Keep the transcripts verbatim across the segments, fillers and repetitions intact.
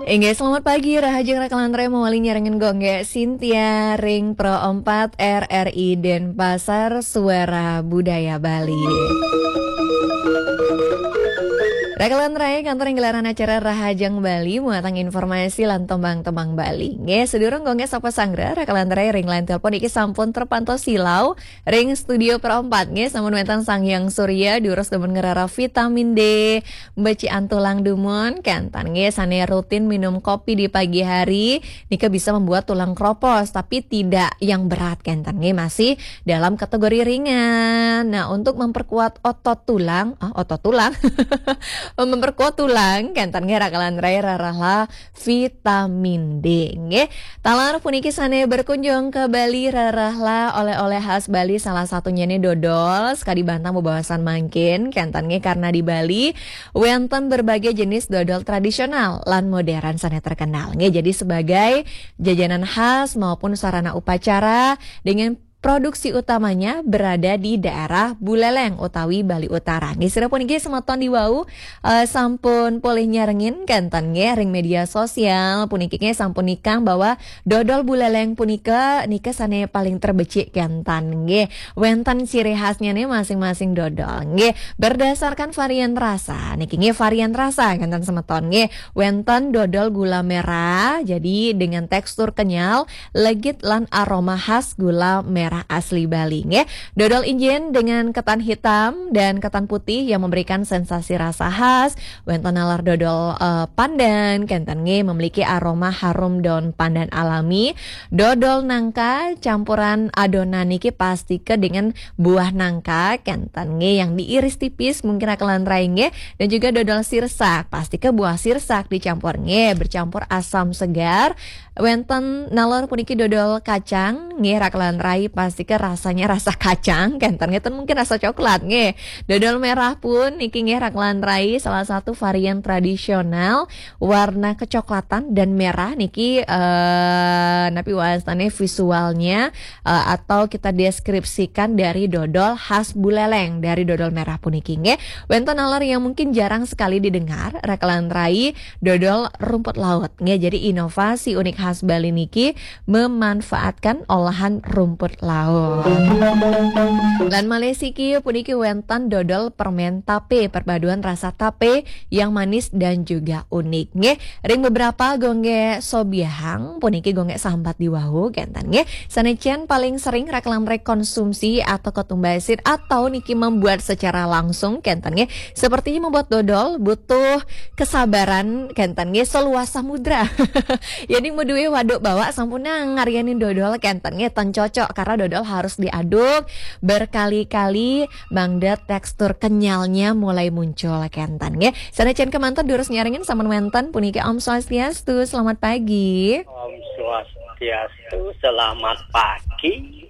Inggih, selamat pagi, rahajeng rakalantarai mawali nyarengin Gung Gé Sintia ring Pro empat R R I Denpasar, Suara Budaya Bali. Rakalantarai, kantos ring gelaran acara Rahajeng Bali, muatang informasi lan tembang-tembang Bali. Nggih, sadurung Gung Gé sapa sanggra, rakalantarai ring line telepon iki sampun terpantau silau ring studio Pro empat. Nggih, sampun wénten Sang Hyang Surya, durus demen ngrereh vitamin D, mbecikan tulang dumun, kénten nggih, sané rutin minum kopi di pagi hari, nika bisa membuat tulang kropos, tapi tidak yang berat, kénten nggih, masih dalam kategori ringan. Nah, untuk memperkuat otot tulang, ah, otot tulang, memperkuat tulang, kénten nggih, rakalantarai rerehlah vitamin D, nggih. Taler puniki sané berkunjung ke Bali, rerehlah oleh-oleh khas Bali, salah satunyané dodol, sakadi bantang bebaosan mangkin, kénten nggih, karena di Bali wénten berbagai jenis dodol tradisional lan modern sané terkenal. Nggih, jadi sebagai jajanan khas maupun sarana upacara dengan produksi utamanya berada di daerah Buleleng utawi Bali Utara. Nggih, sira puniki semeton di wau, eh, sampun polih nyarengin, kénten nggih, ring media sosial puniki nggih sampun nikang bahwa dodol Buleleng punika nika sané paling terbecik, kénten nggih. Wénten ciri khasnya nih masing-masing dodol. Nggih, berdasarkan varian rasa. Niki nggih varian rasa, kénten semeton nggih. Wénten dodol gula merah, jadi dengan tekstur kenyal, legit lan aroma khas gula merah asli Bali nggih. Dodol injin dengan ketan hitam dan ketan putih yang memberikan sensasi rasa khas. Wénten nalar dodol, eh, pandan, kénten nggih, memiliki aroma harum daun pandan alami. Dodol nangka campuran adonan niki pastika dengan buah nangka, kénten nggih, yang diiris tipis, mungkin rakalantarai nggih. Dan juga dodol sirsak, pastika buah sirsak dicampur nggih, bercampur asam segar. Wénten nalar puniki dodol kacang, nggih, rakalantarai, pastika rasanya rasa kacang, kénten nggih, ten mungkin rasa coklat nggih. Dodol merah pun niki nggih, rakalantarai, salah satu varian tradisional, warna kecoklatan dan merah niki, eh, napi wastané visualnya, eh, atau kita deskripsikan dari dodol khas Buleleng, dari dodol merah puniki nggih. Wénten nalar yang mungkin jarang sekali didengar, rakalantarai, dodol rumput laut nggih. Jadi inovasi unik khas Bali niki memanfaatkan olahan rumput laut. Lan malih siki puniki wénten dodol permen tapé, perpaduan rasa tapé yang manis dan juga unik nggih. Ring beberapa Gung Gé sobiahang puniki Gung Gé sambat di wau, kénten nggih. Sané cén paling sering rakalantarai konsumsi atau ketumbasin atau niki membuat secara langsung, kénten nggih. Sepertinya membuat dodol butuh kesabaran, kénten nggih, seluas samudra. Yén madué waduk bawak sampun ngaryanin dodol, kénten nggih, ten cocok karena dodol harus diaduk berkali-kali, mangda tekstur kenyalnya mulai muncul, kénten nggih. Sané cén kémanten durus nyarengin sampun wénten puniki. Om Swastiastu, selamat pagi. Om Swastiastu, selamat pagi.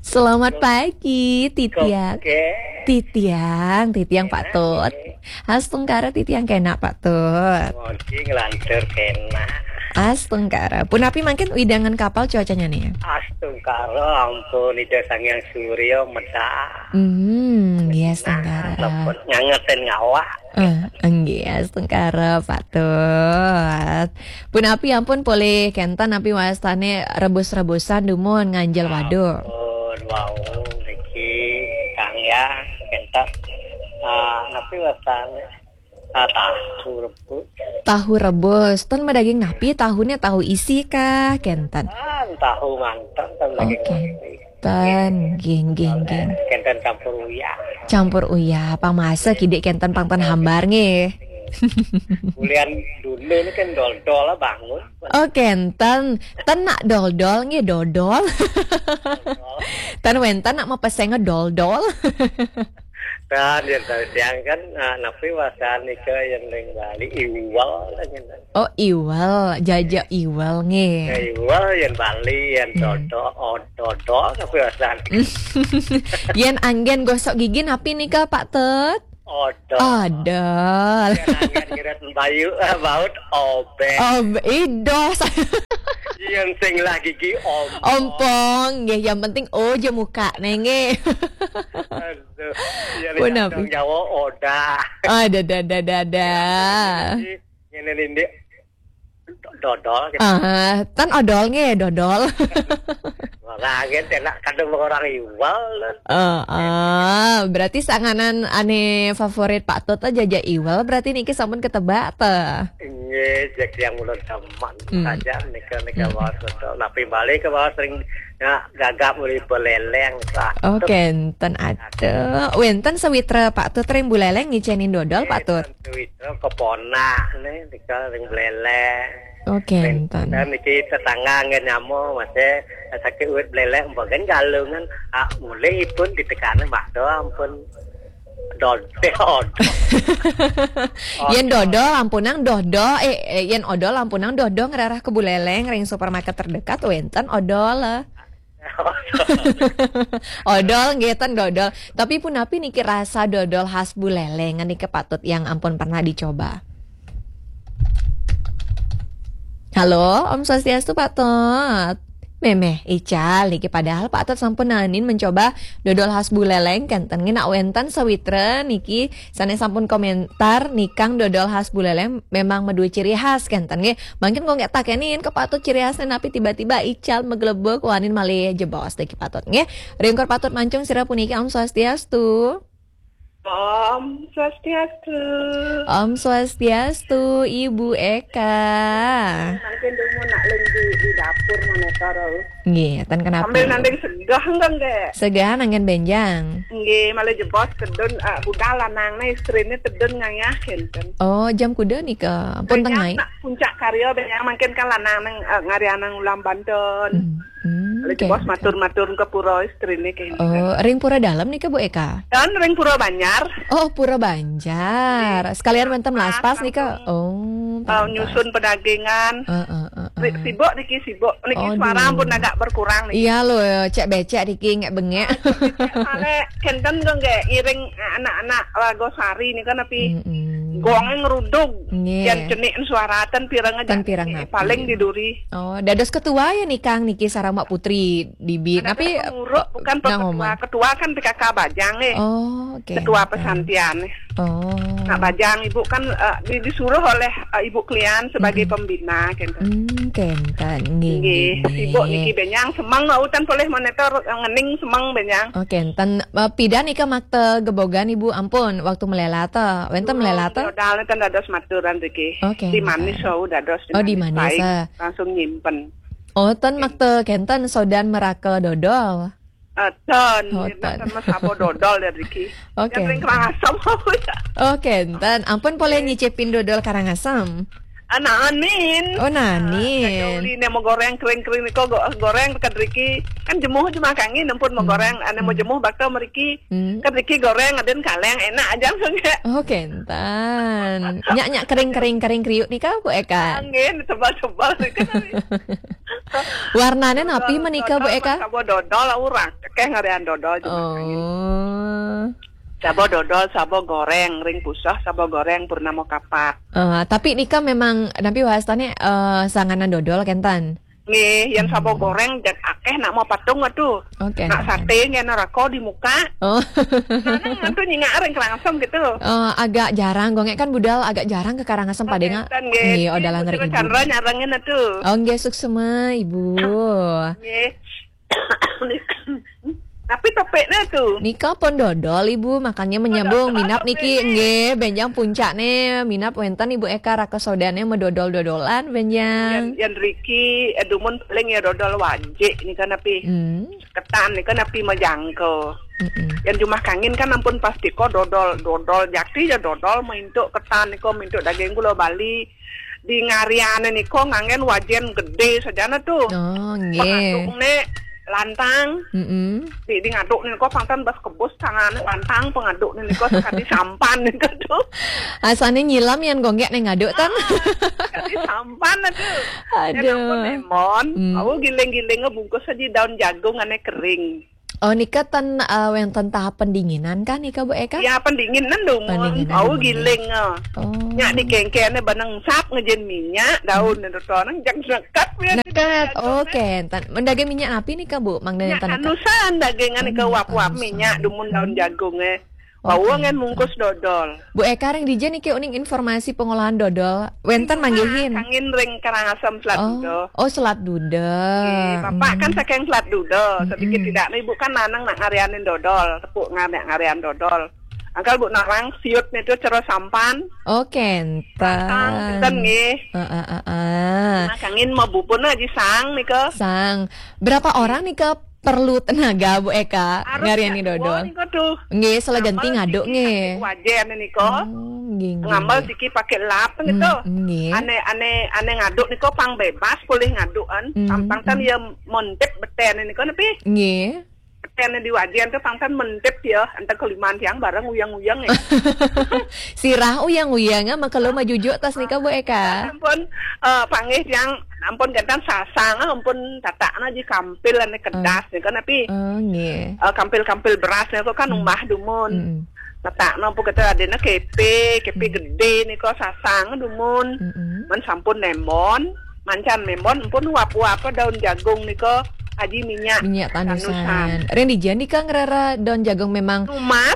Selamat pagi, Titiang. Oke. Titiang, Titiang Pak Tut. Astungkara Titiang, kénak Pak Tut. Modi nglantur kénak. Astungkara. Punapi mangkin wewidangan kapal cuacanya nih? Astungkara, ampun, Ida Sang Hyang Surya medal. Hmm, nggih, astungkara. Nah, ngangetin ngawak. Eh, nggih, astungkara, Pak Tut. Punapi ampun polih kénten napi wastané rebus-rebusan dumun nganjel waduk? Ampun, wau niki Kang ya, kénten. Ah, napi wastané? Ah, tahu rebus. Tahu rebus. Ten madaging napi tahuné, tahu isi kah, kénten? Ah, tahu manten, ten daging. Oke. Ten, nggih, nggih, nggih. Kénten campur uyah. Campur uyah, pang masak kidik kénten pang ten hambar nggih. Bulian dulu ini kan dol-dol bangun. Oh, kénten. Ten nak dol-dol nggih, dodol. Ten wénten nak mapeseng dol-dol. Kan yang tadi siang kan, ah, napi wastané nika yang ring Bali, iwel, gitu. Oh, iwel, jaja iwel nggih. Ya, iwel yang Bali, yang dodol, oh, dodol, napi wastané? Yén anggén gosok gigi napi nika, Pak Tut? Odol. Odol. Yén anggén ngirit bayu, eh, baut obéng. Ob-, idos. Yén sing lah gigi ompong. Ompong, nggih, yang penting O aja muka, nggih. Aduh. Iya, nek Pun api. Jawa odah. Ada, ada, ada, ada, ada. Ini, ini, ini dodol gitu. Ah, ten odol nggih, dodol. Ora nggih, enak kadang orang iwal. Heeh, berarti sanganan ane favorit Pak Tut aja aja iwal, berarti niki sampun ketebak ta? Nggih, cek yang ulun demen Hmm. saja nika, nika Hmm. Bawas dodol. Napi balik ke Bawas sering ya gagap uli beleleng, Pak. Oke, enten ada. Wenten sawitra Pak Tut ring buleleng ngicenin dodol, Pak Tut. Sawitra keponak nih, nika ring buleleng. Oke, enten. Dan niki tetangga nggih nyamo, masih sakit uwit buleleng, mboten galungan. Ah, mulai ipun ditekani, Mbak, doang pun dodol. Yen dodol ampunang dodo, eh, eh, yen odol ampunang dodo ngerarah ke buleleng ring supermarket terdekat wenten odol. Odol nggih ten dodol. Tapi punapi niki rasa dodol khas buleleng niki Pak Tut yang ampun pernah dicoba? Halo, Om Swastiastu Pak Tut. Memeh, ical niki padahal Pak Tut sampun nanin mencoba dodol khas buleleng kenten ngenak wenten sawitra niki sane sampun komentar nikang dodol khas buleleng memang medue ciri khas kenten nggih. Mangkin kok nggak takenin ke Pak Tut ciri khasnya napi tiba-tiba ical meglebek wanin malih jebos deh ke Pak Tut nggih. Ringkur Pak Tut mancung sira puniki Om Swastiastu. Om Swastiastu. Om Swastiastu, Ibu Eka. Mangkin dulu nak ling di, di dapur monitor. Nggih, ten kenapa? Sambil nanding segah enggak, nggak? Segah nanggen benjang. Nggih, malah jebos tedun, eh, budal lanang nih, istrine tedun ngayah kenten. Oh, jam kuda nih ke pun Benjang tengah. Nak puncak karya benjang mangkin kan lanang nang, eh, ngarianang ulam Banten. Hmm, hmm, Malah oke, jebos oke. Matur-matur ke pura istrine kenten. Oh, ring pura dalam nih ke Bu Eka? Dan ring pura Banjar. Oh, pura Banjar. Sekalian mentem laspas nih ke. Langsung. Oh, oh, pantas. Nyusun pedagingan. Heeh, heeh. Ri-, sibuk niki, sibuk. Niki aduh. Suara pun agak berkurang niki. Iya loh, cek becek niki ngek bengek. Soalnya kenten kok nggih iring anak-anak Lagosari nih kan tapi Mm-mm. gongnya ngeruduk. Nggih. Yang cenik suara ten pirang aja. Ten pirang niki, napi. Paling di duri. Oh, dados ketua ya nikang niki sarama Putri Dibit. Ada tapi pengurus, bukan nang ketua. Omong. Ketua kan P K K Bajang nih. Oh, oke. Ketua kenten. Pesantian nih. Oh. Nak Bajang Ibu kan, eh, di-, disuruh oleh, eh, Ibu Klian sebagai Mm-mm. pembina, kenten. Hmm, kenten. Nggih, nggih, nggih, sibuk nggih. Niki benjang semeng, utan polih monitor, eh, ngening semeng benjang. Oh, kenten. Eh, pidan ika makta gebogan Ibu ampun waktu melelata. Wenten melelata? Dodol ten dados maturan riki. Oke, di Manis kenten. Wau dados di Oh, di Manis Manis, paing. Ah. Langsung nyimpen. Oh, ten makta kenten sodan meraka dodol. Eh, ten, oh, ten. Ten mas sabo dodol ya, Riki. Oke. Yang ring Karangasem apa ya? Oke, ten. Ampun boleh nyicipin dodol Karangasem. Ah, nanin. Oh, nanin. Ah, uli ne mau goreng kering-kering niko go-, goreng dekat Riki. Kan jemuh cuma kangin ampun mau hmm. goreng, ane mau hmm. jemuh bakal meriki. Hmm. Kan Riki goreng aden kaleng enak aja langsung ya. Oh, kenten. Nyak nyak kering-kering kering kriuk nih kau Bu Eka. Angin tebal-tebal nih kan. Warnane napi menika, Bu Eka? Sabo dodol, urang. Kekeh ngarian dodol cuma angin. Oh. Sabo dodol, sabo goreng, ring pusah, sabo goreng, purnama kapat. Eh, tapi nika memang, napi wastane, eh, sanganan dodol, kenten? Nggih, yang sabo goreng, jak akeh nak mau patung atuh. Oke. Nak sate, nggih, neraka di muka. Oh. Nah, nah, atuh nyingak ring Karangasem gitu. Eh, agak jarang, gongek kan budal agak jarang ke Karangasem. Oh, padenga. Kenten, nggih. Nggih, odalan ring Ibu. Chandra nyarengin atuh. Oh, nggih, suksema, Ibu. Nggih. Tapi topiknya tuh. Nika pun dodol, Ibu, makanya menyambung minap niki, nggih, benjang puncak nih, minap wenten Ibu Eka raka sodane medodol-dodolan, benjang. Yang, yang Riki, eh, dumun paling ya dodol wajik nih kan api. Hmm. Ketan nih kan api majangko. Mm-mm. Yang jumah kangin kan ampun pasti kok dodol, dodol jati ya dodol, mintuk ketan nih kok, mintuk daging gula Bali. Di ngariane niko nganggen wajen gede sajana tuh. Oh, nggih. Pengaduk ne lantang. Mm-mm. Di, di ngaduk ne niko pangtan bas kebus tangane lantang pengaduk ne niko sekali sampan niko tuh. Asane nyilam yang gonggek ne ngaduk tan. Ah, sekali sampan tuh. Aduh. Yang ampun lemon, hmm. Aku giling-giling bungkus aja daun jagung ane kering. Oh, nika ten, eh, wénten tahap pendinginan kah nika, Bu Eka? Ya, pendinginan dumun. Pendinginan dumun, ya. Giling, eh. Oh. Nyak dikengkene beneng sap ngejen minyak, daun dan rotonang, jang nekat, ya. Nekat, oke. Ten, mendaging minyak napi nika, Bu? Mangda nyak nenten nekat? Tanusan dagingan nika, oh, uap-uap tanusan. Minyak dumun daun jagung, eh. Oke. Bawang kan mungkus dodol. Bu Eka, ring dija niki uning informasi pengolahan dodol. Wénten manggihin. Kangin ring Karangasem Selat Duda. Oh, Selat Duda. Nggih, Bapak kan saking Selat Duda. Sedikit tidak, Ibu kan nanang nak ngarianin dodol, tepuk ngar-, nak ngarian dodol. Angkal Bu narang siut nitu cara sampan. Oh, kenten. Sampan, kenten nggih. Heeh, heeh. Nah, kangin mau bubun aja sang nika. Sang. Berapa orang nika perlu tenaga, Bu Eka, ngariani dodol? Harus nyak dua nika tuh. Nggih, salah ganti ngaduk nggih. Wajen nika. Oh, nggih, nggih, nggih. Ngambel siki pakai lap gitu. Hmm, nggih. Ane, ane, ane ngaduk nika pang bebas, boleh ngadukan. Hmm, pang, pang ten ya montep beten nika napi? Nggih. Beten di wajen tuh pang ten montep ya, enten keliman tiang bareng uyang-uyang ya. Sirah uyang-uyang, ah, makelo majujuk tas nika, Bu Eka. Ampun, eh, panggih tiang, ampun gentan sasang, ah, ampun tatakna ji kampil ane kedas nika napi. Oh, nggih. Eh, kampil-kampil beras nika kan umbah dumun. Mm-mm. Tatakna ampun kata adena kepe, kepe gede nika sasang dumun. Mm-mm. Men sampun nembon, mancan nembon, ampun uap-uap daun jagung nika aji minyak. Minyak tanusan. Tanusan. Ring dija nika ngrereh daun jagung memang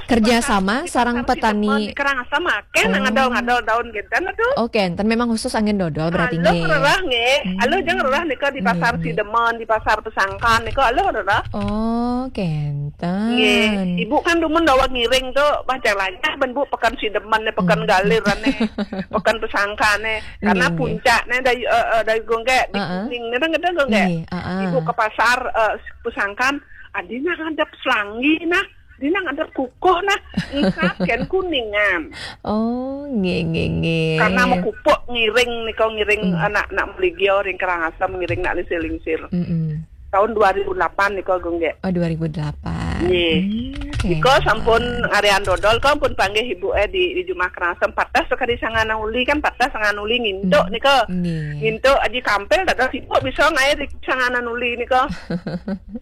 kerja sama sareng petani. Di Karangasem akeh nak ngadol-ngadol daun gentan tuh. Oh, kenten, memang khusus anggén dodol berarti nggih. Alus ngrereh nggih. Hmm. Alus jang ngrereh nika di Pasar Sidemen, di Pasar Pesangkan nika alus ngrereh. Oh, kenten. Nggih. Ibu kan dumun dawa ngiring tuh, bah jang lanyah ben Bu peken Sidemen ne, peken Galir ne, peken Pesangkan ne. Karena puncaknya dari, eh, eh, dari Gonggek, di Kuning ne, kan gedé Gonggek. Nggih, heeh. Ibu ke pasar, eh, Pesangkan, adina ngadep selanggi nah. Dina ngadep kukuh nah, engkap ken Kuningan. Oh, nggih, nggih, nggih. Karena mekupuk ngiring nika, ngiring anak-anak meligio ring Karangasem, ngiring nak lingsir-lingsir. Mm-mm. Tahun dua ribu delapan nika, Gung, nggih. Oh, dua ribu delapan. Nggih. Hmm, oke. Nika sampun ngarian dodol, kok pun panggih ibu, eh, di, di Jumah Karangasem, patah sekali sanganan uli kan, patah sanganan uli ngintuk nika. Nggih. Ngintuk aji kampil, dados ibu bisa ngair di sanganan uli nika.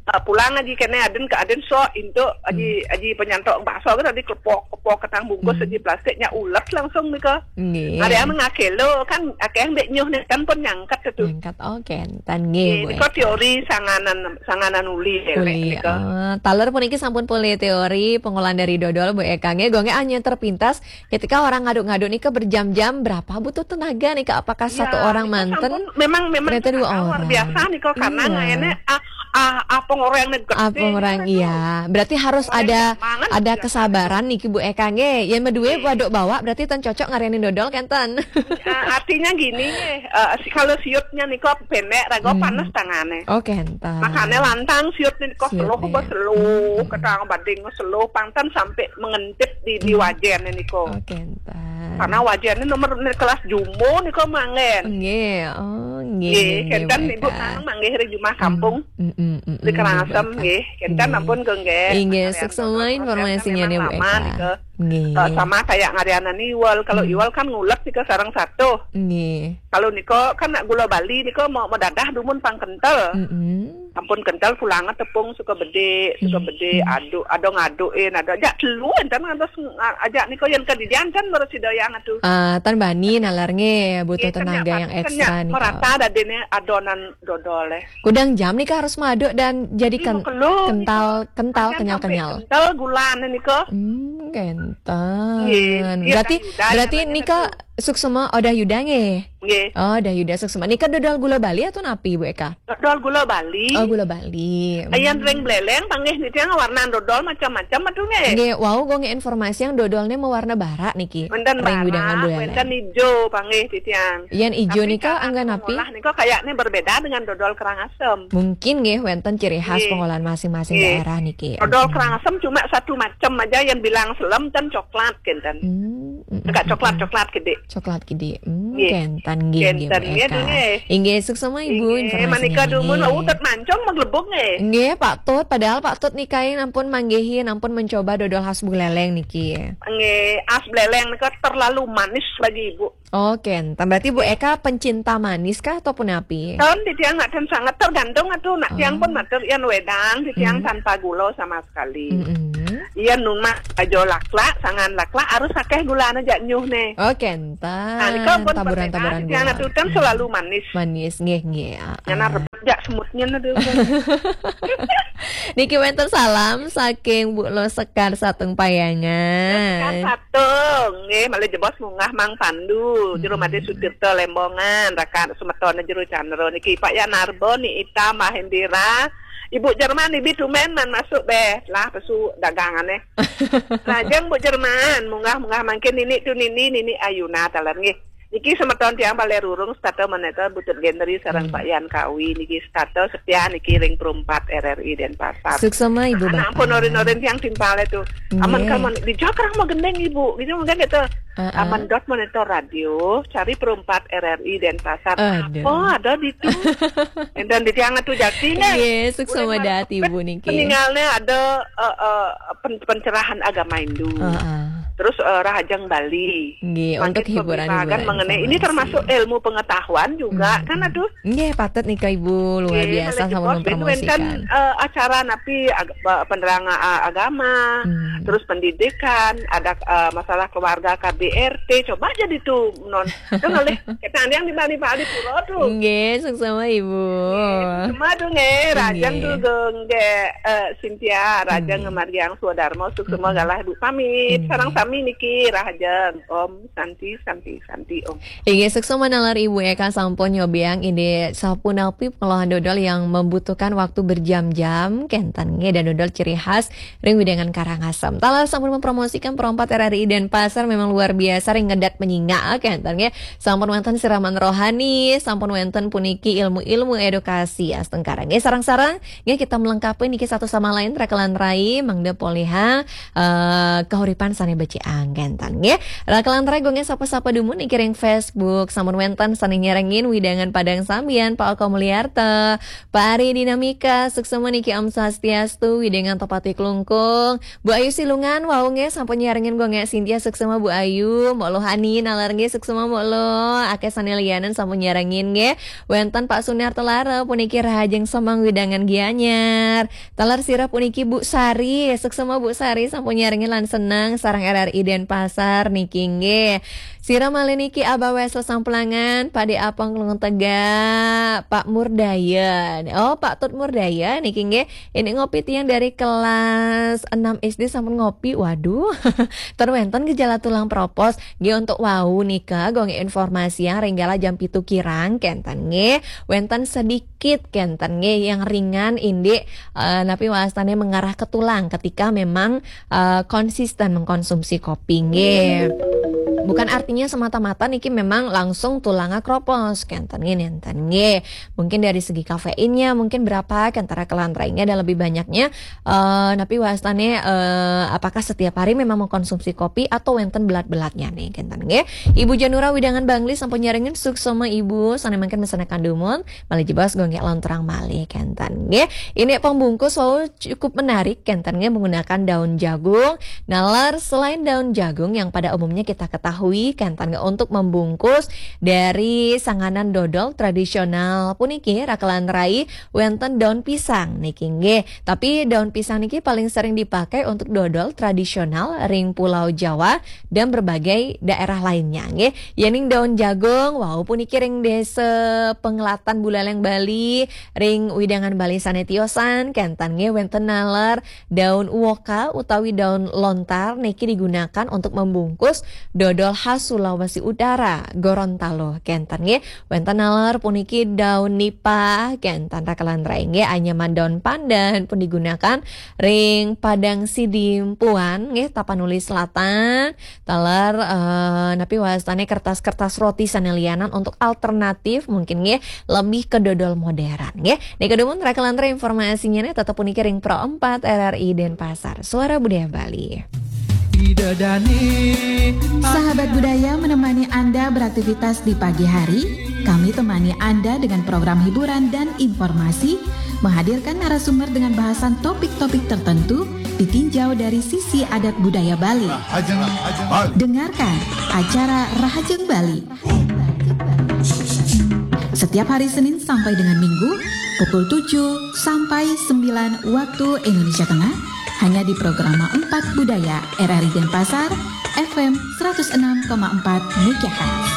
Ah, pulang aji kene aden ke aden sok intuk aji, aji penyantok bakso ke tadi klepok-klepok ketang bungkus aji plastiknya ulet langsung nika. Nggih. Ada yang ngakelo kan akeh mbek nyuh ne kan pun nyangkat tu. Nyangkat, oh, kenten nggih, Bu Eka. Nggih, nika teori sanganan, sanganan uli elek nika. Uli, oh, taler puniki sampun polih teori pengolahan dari dodol, Bu Eka. Nggih, Gung, nggih, hanya terpintas ketika orang ngaduk-ngaduk nika berjam-jam, berapa butuh tenaga nika? Apakah satu orang manten? Iya, nika sampun, memang, memang ternyata dua orang. Luar biasa nika, karena ngayane, ah, ah, ah, pengoreng nih gede. Ah, pengoreng, iya. Berarti harus ada, ada kesabaran niki, Bu Eka, nggih. Yen medue waduk bawak berarti ten cocok ngarianin dodol kenten. Eh, artinya gini, eh, si-, kalau siutnya nika pendek, raga panas tangane. Oh, kenten. Makane lantang siut nika seluh, seluh, ketang bading seluh, pang ten sampai mengentip di, di wajen nika. Oh, kenten. Karena wajen ini nomor ini kelas jumbo nika manggen. Nggih, oh, nggih, nggih, kenten, Bu Eka. Ibu nang manggih ring jumah kampung. Mm, mm, mm, di Karangasem, nggih, Bu Eka. Nggih, kenten ampun, Gung, nggih. Nggih, suksma informasinya nih, Bu Eka. Nggih. Eh, sama kayak ngarianan iwel. Kalau iwel kan ngulet nika sareng satu. Nggih. Kalau nika kan nak gula Bali nika mau, mau dadah dumun pang kentel. Mm-mm. Ampun kentel pulangnya tepung suka bedik, suka bedik, aduk, ada ngadukin, ada ajak telu enten ngantos nga-, ajak nika yang kedidian kan baru si doyang atuh. Ah, tan bani nalar nggih, butuh tenaga yang ekstra nika. Merata dadene adonan dodol, eh. Kudang jam nika harus maduk dan jadi kental, kental, kenyal-kenyal. Kental gulane nika. Hmm, kenten. Nggih. Berarti, berarti nika suksma Odah Yuda nggih? Nggih. Oh, Odah Yuda suksma. Nika dodol gula Bali atau napi, Bu Eka? Dodol gula Bali. Oh, gula Bali. Hmm. Ayan ring Beleleng panggih niki yang warna dodol macam-macam atuh nggih. Nggih, wau, Gung, informasi yang dodolnya mewarna barak niki. Wenten barak, wenten ijo panggih titiang. Yang ijo nika angga napi? Tapi cara pengolah nika kayaknya berbeda dengan dodol Karangasem. Mungkin nggih wenten ciri khas pengolahan masing-masing daerah niki. Nggih. Dodol Karangasem cuma satu macam aja yang bilang selem dan coklat kenten. Hmm, mm, mm, mm. Agak coklat-coklat gede. Coklat gede. Hmm, nggih. Kenten. Nggih, nggih, Kenten, Bu nggih, Eka. nggih. Inggih, suksma Ibu Inggih, informasinya. manika dumun Nggih. Utet mancung maglebuk nggih. Nggih, Pak Tut, padahal Pak Tut nika ampun manggihi, ampun mencoba dodol khas Buleleng niki. Nggih, as Buleleng nika terlalu manis bagi Ibu. Oke, entah berarti Bu Eka pencinta manis kah ataupun api? Tahun di tiang nak ten sangat tergantung atuh nak tiang pun matur yan wedang di tiang tanpa gula sama sekali. Mm-mm. Iya numa aja laklak, sangan laklak harus akeh gulana jak nyuh nih. Oke, entah. Nah, nika pun Taburan-taburan di tiang gula. Atuh ten selalu manis. Manis, nggih, nggih. Ah, Nyana ah. Rebut jak semutnya aduh. Niki wenten salam saking Bu Lo Sekar Sateng Payangan. Kan satu, nggih, malih jebos munggah Mang Pandu, Jero Made Sutirta Lembongan, rakan semetone Jero Candra niki Pak Yanarbo, Ni Ita, Mbah Indira, Ibu Jerman, Ibi tumen man masuk beh, lah pesu dagangane. Lajeng Bu Jerman, munggah-munggah mangkin Nini tu Nini, Nini Ayuna taler nggih. Niki semeton tiang Balerurung, setata meneta Butut Gendri sareng Pak Yan Kawi niki setata setia niki ring perumpat R R I Denpasar. Suksma Ibu Anak Bapak. Pun norin-norin tiang timpale tuh. Aman Nggih. Kaman di Jakarta mau gendeng Ibu, gitu mungkin gitu. Heeh. Aman dot monitor radio, cari perumpat R R I Denpasar. Aduh. Oh, ada di tu. Dan di tiang tu jati nih. Nggih, suksma dhat Ibu niki. Peninggalnya ada eh, eh, pen- pencerahan agama Hindu. Heeh. Terus eh, Rahajeng Bali. Nggih, Makin untuk hiburan-hiburan pembimbingan mengenai ini informasi. Termasuk ilmu pengetahuan juga Hmm. Kan aduh. Nggih, patut nika Ibu, luar Nggih, biasa malih sampun jebos, wenten, mempromosikan. Eh, acara napi ag- eh, penerang eh, agama, Hmm. Terus pendidikan, ada eh, masalah keluarga K B R T, coba aja di tu non. Kan oleh kita yang di Bali Bali Pura tuh. Nggih, suksma Ibu. Cuma tuh nggih, Rahajeng Nggih. Tugung nggih eh, Cynthia, Rahajeng Nggih. Margiang Sudarmo, suksma Mm-mm. Galah Bu pamit. Nggih. Sareng sami niki Rahajeng Om Santi Santi Santi Om. Inggih, suksma nalar Ibu Eka sampun nyobiang indik sapunapi pengolahan dodol yang membutuhkan waktu berjam-jam, kenten nggih, dan dodol ciri khas ring wewidangan Karangasem. Taler sampun mempromosikan perompat R R I Denpasar memang luar biasa ring ngedat menyingak, kenten nggih. Sampun wenten siraman rohani, sampun wenten puniki ilmu-ilmu edukasi astungkara nggih. Sareng-sareng nggih kita melengkapi niki satu sama lain, rakelan rai, mangda polihang eh, kahuripan sane becik anggen tan nggih. Rakelan rai, gung nggih sapa-sapa dumun niki ring Facebook, sampun wenten sane nyarengin wewidangan Padang Sambian, Pak Oko Mulyarta, Pak Ari Dinamika, suksma niki Om Swastiastu, wewidangan Topati Klungkung, Bu Ayu Silungan, wau nggih sampun nyarengin gung nggih Cynthia, suksma Bu Ayu, Mbok Lohani nalar nggih suksma Mbok Lo, akeh sane lianan sampun nyarengin nggih. Wenten Pak Sunarto Lara puniki Rahajeng Semeng wewidangan Gianyar. Taler sira puniki Bu Sari, suksma Bu Sari sampun nyarengin lan seneng sareng R R I Denpasar niki nggih. Sira malih niki Abah Wesel Sampulangan, Pak De Apong Klungkung Tegak, Pak Murdaya. Oh, Pak Tut Murdaya niki nggih. Ini ngopi tiang dari kelas enam S D sampun ngopi. Waduh. Ten wenten gejala tulang propos. Nggih, untuk wau nika gung nggih informasi yang ring galah jam pitu kirang kenten nggih. Wenten sedikit kenten nggih yang ringan indik eh, napi wastane mengarah ke tulang ketika memang eh, konsisten mengkonsumsi kopi nggih. Bukan artinya semata-mata niki memang langsung tulangnya kropos kenten nggih, nenten nggih. Mungkin dari segi kafeinnya mungkin berapa, kenten rakelan rai nggih, ada lebih banyaknya eh, napi wastane eh, apakah setiap hari memang mengkonsumsi kopi atau wenten belat-belatnya nih kenten nggih. Ibu Janura wewidangan Bangli sampun nyarengin, suksma Ibu, sane mangkin mesenakan dumun, malih jebos gung nggih lontrang malih kenten nggih. Ini pembungkus wau cukup menarik kenten nggih, menggunakan daun jagung. Nalar selain daun jagung yang pada umumnya kita ketahui kenten nggih untuk membungkus dari sanganan dodol tradisional puniki rakelan rai, wenten daun pisang niki nggih. Tapi daun pisang niki paling sering dipakai untuk dodol tradisional ring Pulau Jawa dan berbagai daerah lainnya nggih. Yening daun jagung wau puniki ring Desa Penglatan Buleleng Bali, ring wewidangan Bali sane tiosan kenten nggih, wenten nalar daun uoka utawi daun lontar niki digunakan untuk membungkus dodol khas Sulawesi Utara, Gorontalo kenten nggih. Wenten nalar puniki daun nipah kenten rakelan rai nggih, anyaman daun pandan pun digunakan ring Padang Sidimpuan nggih, Tapanuli Selatan. Taler eh, napi wastane kertas-kertas roti sane lianan untuk alternatif mungkin nggih, lebih ke dodol modern nggih. Nika dumun rakelan rai informasinya nih, tetep puniki ring Pro empat R R I Denpasar, Suara Budaya Bali. Sahabat budaya menemani Anda beraktivitas di pagi hari. Kami temani Anda dengan program hiburan dan informasi, menghadirkan narasumber dengan bahasan topik-topik tertentu ditinjau dari sisi adat budaya Bali. Dengarkan acara Rahajeng Bali setiap hari Senin sampai dengan Minggu pukul tujuh sampai sembilan waktu Indonesia Tengah, hanya di Programa empat Budaya R R I Denpasar, F M seratus enam koma empat megahertz.